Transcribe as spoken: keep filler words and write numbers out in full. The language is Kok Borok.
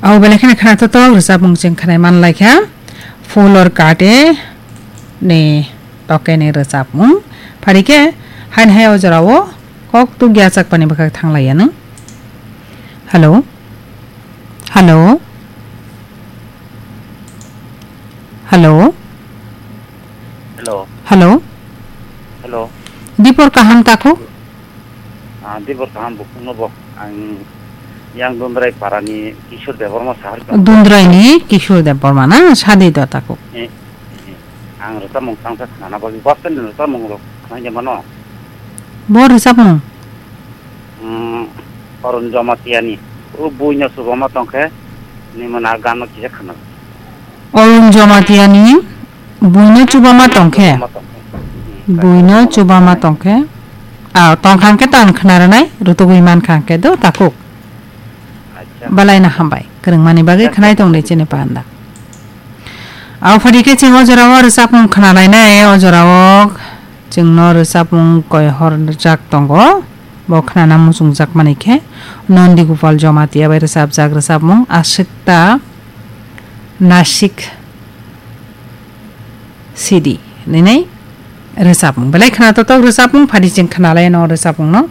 Abo belai kheno khna totok rwchapmung chwng khnai man lai kha. Full or kate ni toke ni rwchapmung. Phari khe hain hai o jora o kok tuk ya chak pani bwkhak thang lai ya nang. Hello. Hello. Hello. Hello. Hello. Hello. Dipor kaham takhuk? Ah, dibor kaham bukhukno bo. Ang yang Dundrai parani Kishore Debbarma sahar ka. Dundrai ni Kishore Debbarma na sadi do takhuk. Eh, eh. Ang rwchapmung tangsa khnana bagwi bus stand ni rwchapmung rok khna mano. Bo rwchapmung? Hmm, Arun Jamatia ni. O buino chubama tongkhe ni mana ganno kisa khna. Arun Jamatia ni buino chubama tongkhe. Chubama tongkhe. Hmm, buino chubama tongkhe. Ah, tongkhang khe tan khna rwnai, rutugwi mankha khe do takhuk. Acha. Balai na hambai. Kwrwngmani bagwi khnai tong di chini panda. Abo phadi khe chwng o jora o rwchapmung khna lainai, o jora o chwngno rwchapmung koi hor rwjak tongo. Bo khnana muchungjak mani khe Nondi Gopal Jamatia bai rwchapjak rwchapmung Asikta Nasik Sidi nini rwchapmung. Belai khna totok rwchapmung phadi chwng khna lai no rwchapmung no.